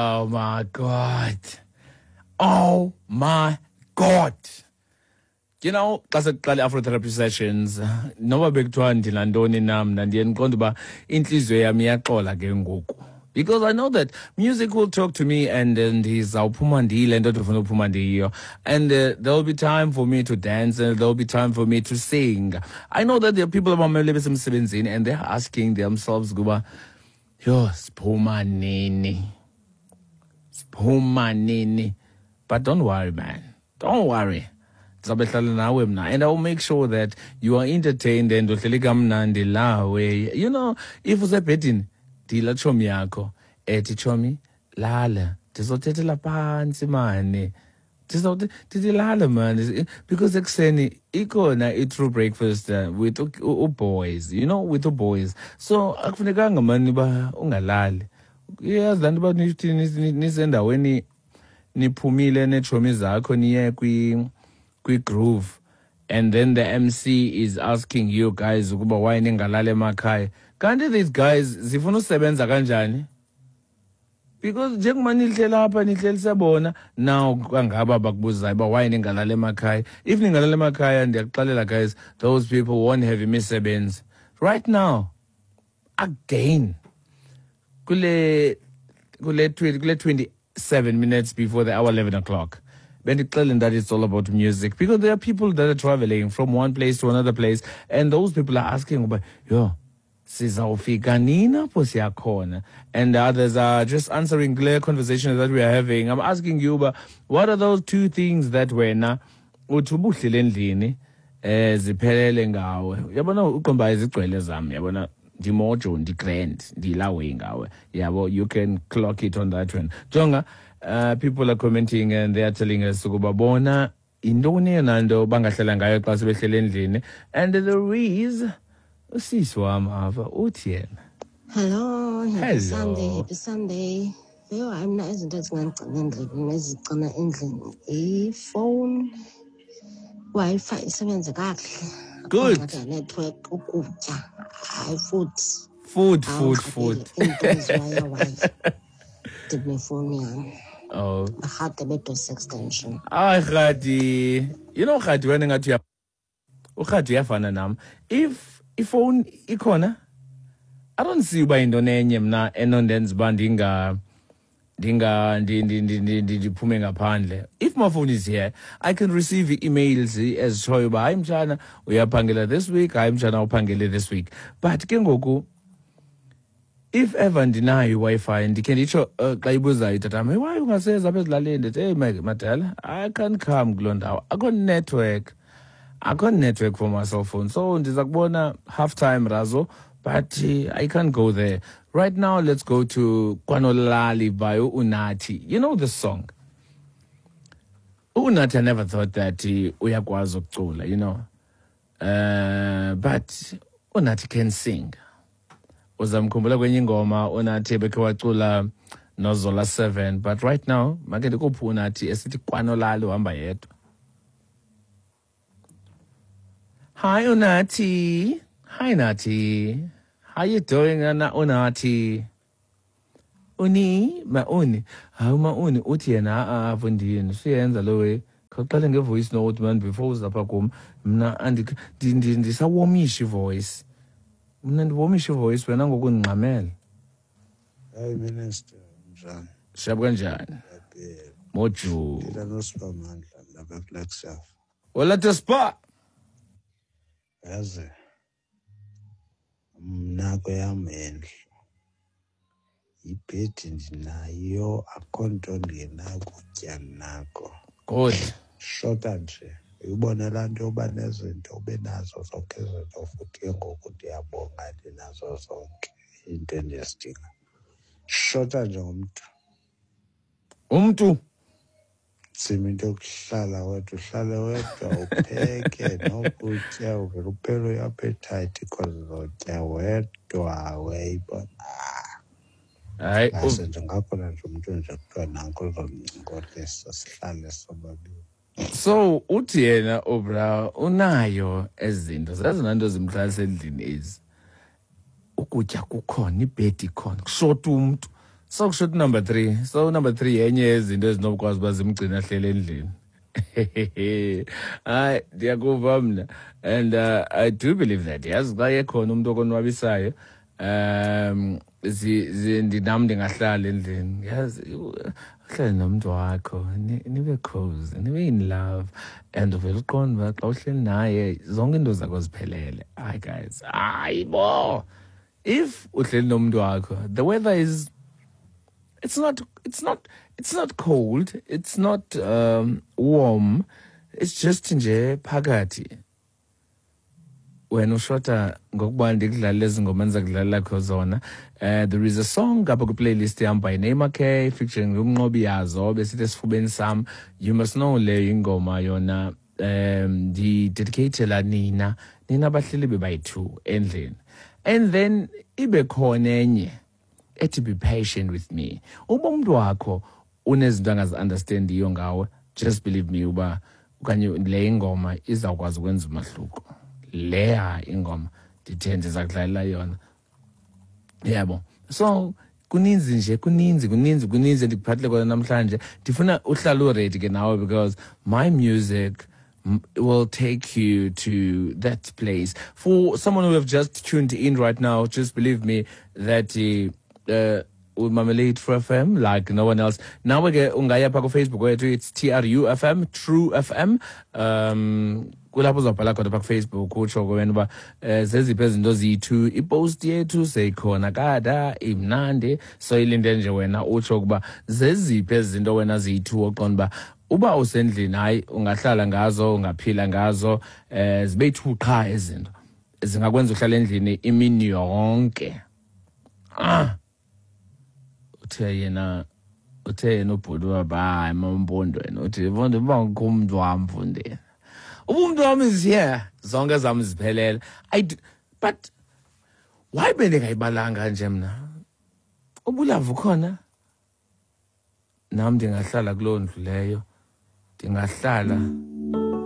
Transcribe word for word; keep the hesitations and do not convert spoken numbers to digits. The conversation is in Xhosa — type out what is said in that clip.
Oh my God. Oh my God. You know, xa sekuqala i-Afrotherapy sessions, noba bekuthiwa ndinantoni na mna ndiye ndiqonde uba intliziyo yam iyaxola ke ngoku. Because I know that music will talk to me and ndizawuphuma ndiyile nto ndifuna uphuma ndiyiyo. And uh, there'll be time for me to dance and there'll be time for me to sing. I know that there are people abamele besemsebenzini and they're asking themselves ukuba, yho, siphuma nini? Siphuma nini? But don't worry, man. Don't worry. Ndizawube hlala nawe mna and I will make sure that you are entertained and uhleli kamnandi lawe. You know, if usebhedini, ndila tshomi yakho ethi tshomi lala ndizothethela phantsi mani ndizawuthi ndithi lala mani because ekuseni ikhona i-true breakfast uh, with u-boys, you know, with u-boys, so akufunekanga mani uba ungalali. Iyazi laa nto uba nithi nisendaweni niphumile neetshomi zakho niye kwi-groove and then the M C is asking you guys ukuba why ningalali emakhaya. Kanti these guys zifuna usebenza kanjani? Because njengoba nihleli apha nihlelise bona now kangaba bakubuzayo uba why ningalali emakhaya. If ningalali emakhaya, ndiyakuxelela guys, those people won't have imisebenzi. Right now again kule kule kule twenty-seven minutes before the hour eleven o'clock, bendixeleni that it's all about music because there are people that are traveling from one place to another place and those people are asking uba, yho, sizawufika nini apho siyakhona? And the others are just answering clear conversation that we are having. I'm asking you uba, what are those two things that wena uthi ubuhlele endlini eh ziphelele ngawe? Uyabona uqomba izigcwele zam, yabona ndimojo, ndi-grand, ndiyilawe ngawe, yabo. You can clock it on that one. Jonga, uh, people are commenting and they are telling us ukuba bona yintoni eyona nto bangahlala ngayo xa sebehlele endlini. And there is usisi wam apha, uthi yena Hello, happy Hello. Sunday, happy Sunday. Yho, hayi mna izinto ezingandigcina endlini ezigcina endlini ifowuni, Wi-Fi isebenze kakuhle. Akho Good. ngxaki yanethiwekhi, ukutya, hayi futhi. Food, food, Awungxakile, food. Iinto eziwayawaya ndinefowuni yam. Oh. Rhadebe dose extension. Hayi Rhadi, you know Rhadi, wena ngathi uya uRhadi uyafana nam. If ifowuni ikhona, I don't see uba yintoni enye mna enondenza uba ndinga ndinga ndi- ndi- ndi- ndi- ndi- ndiphume ngaphandle. If my phone is here, I can receive emails ezitshoyo uba hayi mtshana uyaphangela this week, hayi mtshana uphangele this week. But ke ngoku if ever ndinayo iWi-Fi, ndikhe nditsho uh, xa ibuzayo itatam, hey, why ungaseza apha ezilalini? Ndithi, hey madala, I can't come kuloo ndawo, akho network, akho network for my cell phone, so ndiza kubona half time razo, but uh, I can't go there right now. Let's go to Kwanolali by Unathi. You know this song, Unathi. I never thought that uh, uyakwazi ukucula, you know uh, but Unathi can sing. Uzamkhumbula kwenye ingoma uNathi bekhe wacula noZola seven. But right now make ndikuphi uNathi esithi Kwanolali, uhamba yedwa. Hi Unathi. Hi Nathi, how you doing, Ana Unathi? Uni mauni, hawu mauni, uthi yena a-a mfondini suyenza lo way. Khawuqale nge-voice note man before uzapha kum. Mna ndisawomisha ivoice, mna ndiwomisha ivoice, wena ngoku ndingxamele. Hayi Minister, njani? Shap kanjani? Ngiyaphila. Moju. Phila noSiphamandla lapha eFlagstaff. Hola Spa. Yazi mna kweyam indlu ibhedi ndinayo, akho nto ndingenakutya nako. Good. Shota nje uyibone laa nto yoba nezinto ube nazo zonke izinto, futhi ke ngoku ndiyabonga ndinazo zonke iinto endizidinga. Shota nje ngumntu. Umntu. Nzima into yokuhlala wedwa, uhlale wedwa upheke nokutya uvele uphele i-appetite because uzotya wedwa, uyayibona. Hayi. Ngase nje ngakhona nje umntu nje kuthiwa nanko uzondincokolisa sihlale sobabini. So uthi yena ubra unayo ezinto zezona nto zimhlalisa endlini ezi, ukutya kukhona, ibhedi ikhona, kushota umntu. So kusho number three. So number three yenye yezinto ezinokwazi uba zimgcina ahlele endlini. Hayi, ndiyakuva mna, and uh, I do believe that, yazi, xa ekhona umntu okonwabisayo, um ndinam ndingahlala endlini. Yazi, uhlale nomntu wakho, nibe cozy, nibe in love, and uvele uqonde uba xa uhleli naye zonke iinto zakho ziphelele. Hayi guys, hayi bo, if uhleli nomntu wakho, the weather is it's not it's not it's not cold, it's not um, warm, it's just nje phakathi. Wena ushota ngokuba ndikudlalele ezi ngoma endiza kudlalela kho zona. uh, there is a song apha kwiplaylist yam by Neymar K featuring uMnqobi Yazo, besithi "Esifubeni Sam". You must know, leyo ingoma yona um ndidedicatela nina nina bahleli bebayi-two endlini. And then ibe khona enye ethi "Be Patient With Me". Uba umntu wakho unezinto angazi-understandiyo ngawe, just believe me uba okanye le ingoma izawukwazi ukwenza umahluko. Leya ingoma ndithe ndiza kudlalela yona, yabo. So kuninzi nje, kuninzi, kuninzi, kuninzi endikuphathele kona namhlanje. Ndifuna uhlale uready ke nawe, because my music will take you to that place. For someone who have just tuned in right now, just believe me that uh, uh, umamele True F M like no one else. Nawe ke ungaya pha ku-Facebook wethu, it's T R U F M, True F M. Um kulapho uzawubhala khona pha kuFacebook, utsho ke wena uba um zeziphi ezinto ziyi-two. Ipost yethu seyikhona kada imnandi, so ilinde nje wena utsho ukuba zeziphi ezi zinto wena ziyi-two oqonda uba uba usendlini, hayi, ungahlala ngazo, ungaphila ngazo. eh zibe yi-two qha ezinto zingakwenza uhlala endlini imini yonke. Ah, uthe yena uthe yena ubhuti waba, hayi mampondweni, uthi mfondo, uba ngukho umntu wam mfondini, uba umntu wam is here, zonke zam ziphelele. I do, but why bendingayibalanga nje mna ubulavu khona? Nam ndingahlala kuloo ndlu leyo, ndingahlala.